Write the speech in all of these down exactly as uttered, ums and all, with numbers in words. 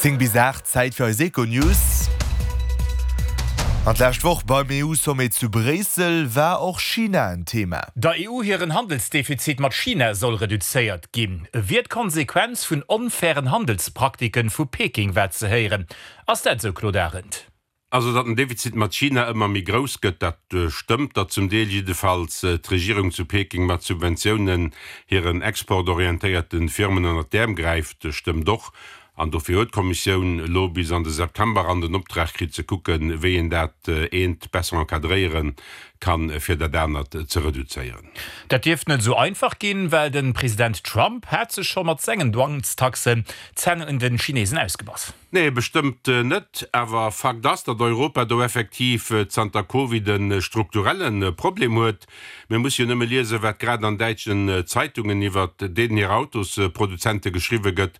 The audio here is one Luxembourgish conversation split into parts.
Zéng bis aacht, Zäit fir eis Econews. An d'lescht Woch beim EU-Sommet zu Bréissel war och China en Thema. Der E U hiren Handelsdefizit mat China soll reduzéiert ginn, wier d'Konsequenz vun onfairen Handelspraktiken vu Peking, war ze héieren. Ass dat esou, Claude Arend? Also datt den Defizit mat China ëmmer méi grouss gëtt, dat stëmmt, datt zum Deel jiddefalls d'Regierung zu Peking mat Subventiounen hiren exportorientéierte Firmen ënnert d'Äerm gräift, stëmmt och. An dofir huet d'Kommissioun elo bis an de September eran den Optrag kritt ze kucken, wéi een dat eent besser encadréiere kann, fir dat anert ze reduzéieren. Dat dierft net esou einfach ginn, well de President Trump hat sech scho mat sengen Douanestaxen d'Zänn un de Chinesen ausgebass. Nee, bestëmmt net. Awer Fakt ass, datt Europa do effektiv zanter Covid e strukturelle Problem huet. Mir musse jo nëmme liesen, wat grad an däitschen Zeitungen iwwert deenen hir Autosproduzente geschriwwe gëtt.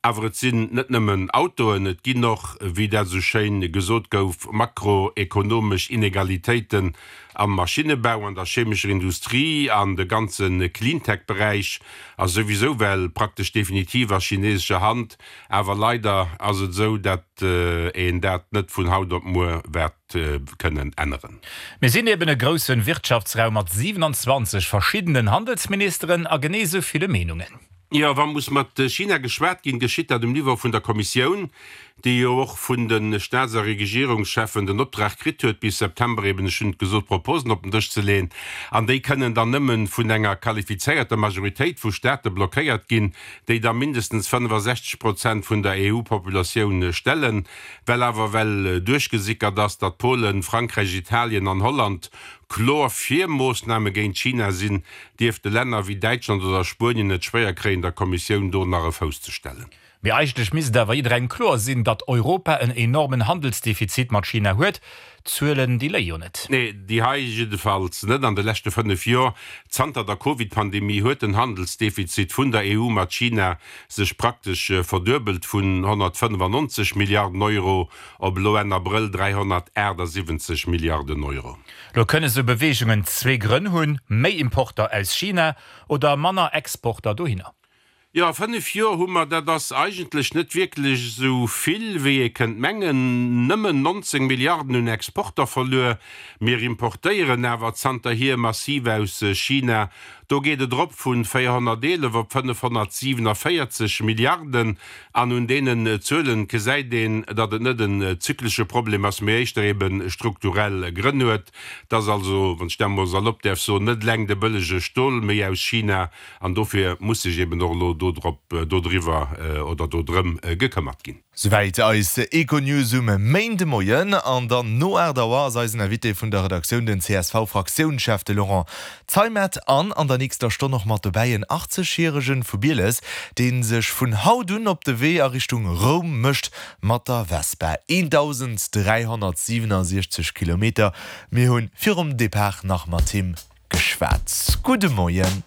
Awer et sinn net nëmmen Autoen, et ginn och, wéi dat esou schéin gesot gouf, makroekonomesch Inegalitéiten am Maschinnebau, an der chemescher Industrie, an de ganze Cleantech-Beräich ass souwisou well praktesch definitiv a chinesescher Hand. Awer leider ass et esou, dat een dat net vun haut op muer wäert kënnen änneren. Mir sinn eben e grousse Wirtschaftsraum mat siwenanzwanzeg verschiddenen Handelsministeren a genee esou ville Meenungen. Jo, wa muss mat China geschwat ginn, geschitt dat um Niveau vun der Kommissioun, déi jo och vun de Staats a Regierungscheffen den Optrag kritt huet, bis September eben, ech hunn et gesot, Proposen op den Dësch ze leeën. An déi kënnen dann nëmme vun enger qualifizéierter Majoritéit vu Staate blockéiert ginn, déi da mindestens fënnefasechzeg Prozent vun der E U-Populatioun stellen. Well awer well duerchgesickert ass, datt Polen, Frankräich, Italien an Holland kloer fir Moossname géint China sinn, dierfte Länner wéi Däitschland oder Spuenien et schwéier kréien, der Kommissioun do nach e Fouss ze stellen. Mee eigentlech misst et awer jidderengem kloer sinn, datt Europa en enormen Handelsdefizit mat China huet. D'Zuelen, déi léie jo net. Nee, déi hei jiddefalls net. An de leschte fënnef Joer, zanter der Covid-Pandemie, huet den Handelsdefizit vun der E U mat China sech praktesch verduebelt, vun honnertfënnefannonzeg Milliarden Euro op elo Enn Abrëll dräihonnertaachtsiwwenzeg Milliarden Euro. Lo kënne sou Beweegungen zwee Grënn hunn, méi Importer aus China oder manner Exporter dohinner. Jo, fënnef Joer hu mer, dat ass eigentlech net wierklech esou vill, wéi ee kënnt mengen, nëmmen nonzéng Milliarden un Exporter verluer. Mir importéieren awer zanterhier massiv aus China. Do geet et erop vu véierhonnerteelef op fënnefhonnertsiwenavéierzeg Milliarden. An un deenen Zuelen gesäit een, datt et net en zyklesche Problem ass, mee éischter ebe strukturell Grënn huet. Et ass also, wann ech dat emol salopp däerf soen, net eleng de bëllege Stol méi aus China, an dofir muss sech eben och elo dodrop, dodriwwer oder dodrëm gekëmmert ginn. Souwäit eis Econews um Méindemoien. An dann no aacht Auer ass eisen Invité vun der Redaktioun den C S V-Fraktiounschef, de Laurent Zeimet. An an der nächster Stonn och mat dobäi en achtzeg-järegen vu Bieles, dee sech vun haut un op de Wee a Richtung Roum mécht mat der Vespa. eendausenddräihonnertsiwenasiechzeg Kilometer. Mir hunn virum Depart nach mat him geschwat. Gudde Moien.